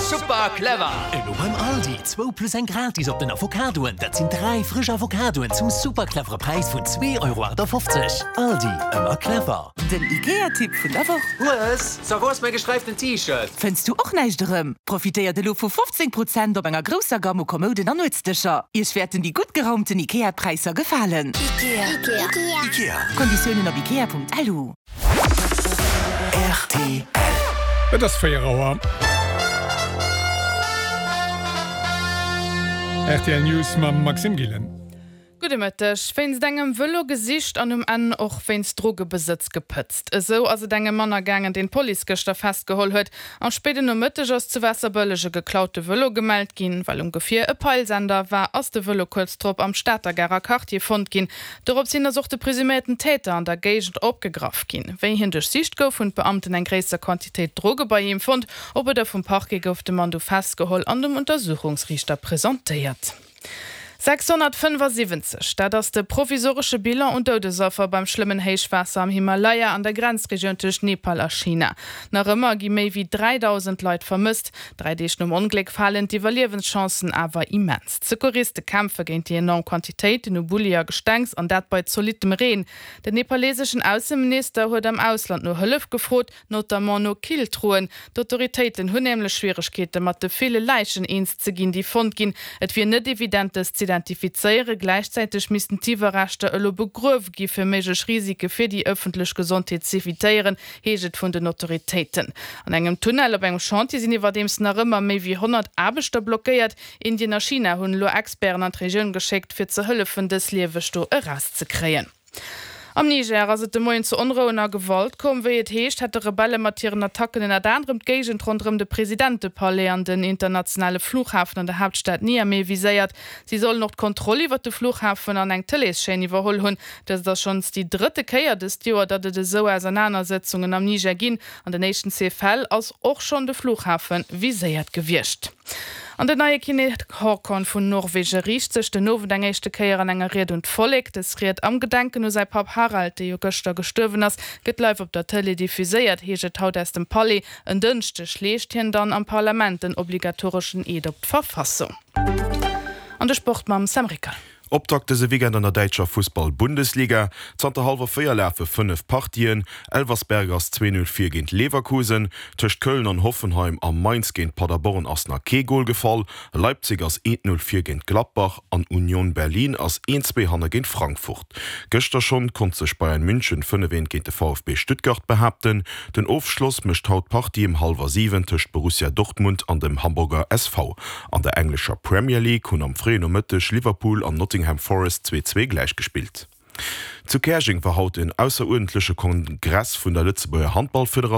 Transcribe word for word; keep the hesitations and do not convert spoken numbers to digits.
Super clever! Elo beim Aldi, zwou plus eng gratis op den Avocadoen. Dat sinn dräi frësch Avocadoen zum super clevere Präis vun zwee Euro achtafofzeg. Aldi, ëmmer clever! Den Ikea-Tipp vun der Woch. Hues, so wou ass mäi gesträiften T-Shirt? Fënns du och näischt erëm? Profitéiert elo vu fofzéng Prozent op enger grousser Gamme u Kommoden an Nuetsdëscher. Iech wäerten déi gutt geraumten Ikea-Präisser gefalen. Ikea. Ikea. Ikea. Konditiounen op ikea.lu. Rtl. Et ass véier Auer. Rtl News mam Maxime Gillen. Gudde Mëtteg. Wéinst engem Vëlo gesicht an um Enn och wéinst Drogebesëtz gepëtzt. Esou ass et engem Mann ergaangen, deen d'Police gëschter festgeholl huet. Am spéiden Nomëtteg ass zu Waasserbëlleg e geklaute Vëlo gemellt ginn. Well um Gefier e Peilsender war, ass de Vëlo kuerz drop am Stater Garer Quartier fonnt ginn. Dorops hin ass och de presuméierten Täter an der Géigend opgegraff ginn. Wéi hien duerchsicht gouf, hunn d'Beamten eng gréisser Quantitéit Droge bei him fonnt. Op Uerder vum Parquet gouf de Mann du festgeholl an dem Untersuchungsriichter presentéiert. sechshonnertfënnefasiwwenzeg, dat ass de provisoresche Bilan un Doudesaffer beim schlëmmen Héichwaasser am Himalaya an der Grenzregioun tëscht Nepal a China. Nach ëmmer gi méi wéi dräidausend Leit vermësst. Dräi Deeg nom Ongléck falen d'Iwwerliewenschancen awer immens. D'Secouriste kämpfe géint déi enorm Quantitéiten u Bulli a Gestengs, an dat bei zolittem Reen. Den nepaleseschen Ausseminister huet am Ausland no Hëllef gefrot, notamment no Killtruen. D'Autoritéiten hunn nämlech Schwieregkeete mat de ville Läichen eens ze ginn, déi fonnt ginn. Et wier net evident, dës z'identifizéieren. Gläichzäiteg missten d'Iwwerreschter elo begruewe gi fir méiglech Risike fir déi ëffentlech Gesondheet z'evitéieren, heescht et vun den Autoritéiten. An engem Tunnel op engem Chantier sinn iwwerdeems nach ëmmer méi wéi honnert Aarbechter blockéiert. Indien a China hunn elo Experten an d'Regioun geschéckt, fir ze hëllefen, dës lieweg do erauszekréien. Am Niger ass et de Moien zu Onrouen a Gewalt komm. Wéi et heescht, hätte Rebelle mat hiren Attacken ënnert anerem d'Géigend ronderëm de Presidentepalais an den internationale Flughafen an der Haaptstad Niamey viséiert. Si sollen och d'Kontroll iwwer de Flughafen an eng Tëleeschaîne iwwerholl hunn. Dëst ass schonns déi drëtte Kéier dëst Joer, datt et esou Ausernanersetzungen am Niger ginn. An den éischten zwee Fäll ass och schonn de Flughafe viséiert gewiescht. An den neie Kinnek Haakon vun Norwege riicht sech den Owend eng éischte Kéier an enger Ried un d'Vollek. Dës Ried am Gedenken u säi Papp Harald, dee jo gëschter gestuerwen ass, gëtt live op der Tëlee diffuséiert, heescht et haut aus dem Palais. En Dënschdeg leescht hien dann am Parlament den obligatoreschen Eed op d'Verfassung. An de Sport mam Sam Rickal. Optakt dëse Weekend an der däitscher Fussball-Bundesliga. Zanter hallwer véier lafe fënnef Partien. Elversberg ass zwee Null vir géint Leverkusen. Tëscht Köln an Hoffenheim a Mainz géint Paderborn ass nach kee Gol gefall. Leipzig ass eent Null vir géint Gladbach an Union Berlin ass een zwee hanne géint Frankfurt. Gëschter schonn konnt sech Bayern München fënnef eent géint de V F B Stuttgart behaapten. Den Ofschloss mécht haut d'Partie ëm hallwer siwen tëscht Borussia Dortmund an dem Hamburger S V. An der englescher Premier League hunn am fréien Nomëtteg Liverpool an Nottingham Forest zwee zwee gläichgespillt. Zu Käerjeng war haut en ausseruerdentleche Kongress vun der Lëtzebuerger Handballfederatioun.